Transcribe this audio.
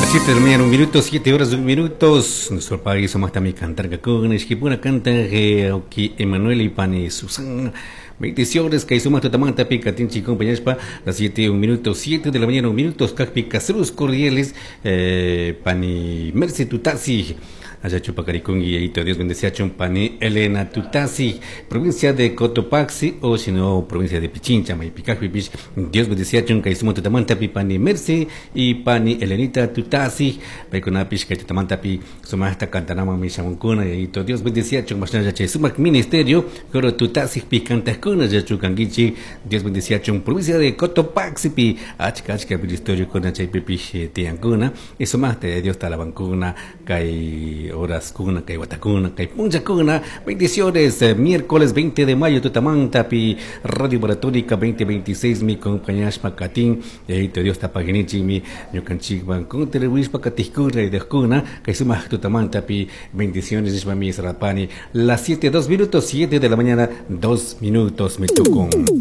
Las 7 de la mañana, 1 minuto, 7 horas, 1 minutos. Nuestro país somos también cantar con Esquipuna canta Oki Emanuel y Pani Susan. Bendiciones, que suma tutamanta pica tinchi compañeros las 7, 1 minuto, 7 de la mañana, 1 minuto, Cacpi Castruz Cordiales, Pani Merce Tutasi. Allá Chupacaricungui, y Dios bendice a Chumpani, Elena Tutasi, provincia de Cotopaxi, o si no, provincia de Pichincha, Maipicajpipich, Dios bendice a Chunca y sumo Tutamantapi, Pani Merce y Pani Elenita Tutasi, Paicunapish, que Tutamantapi, Sumasta Cantanama, Mishamuncuna, y Dios bendice a Chun, Sumac Ministerio, Coro Tutasi, Picantascuna, Yachucanguichi, Dios bendice a Chun, provincia de Cotopaxi, pi, Achca, Achca, Ministerio, Cuna, Chaypipish, Tiancuna, y Sumaste, Dios Talabancuna, Cay horas kuna kay watakuna kay punchakuna. Bendiciones, miércoles 20 de mayo, Tutamantapi, Radio Maratónica 2026, mi compañeras Pacatín, y ahí te Dios tapaginichi, mi ñukanchikwan con televispa katijkuna y dejkuna, kay sumaj Tutamantapi, bendiciones, mi Sarapani, las 7, 2 minutos, 7 de la mañana, 2 minutos, me tocó.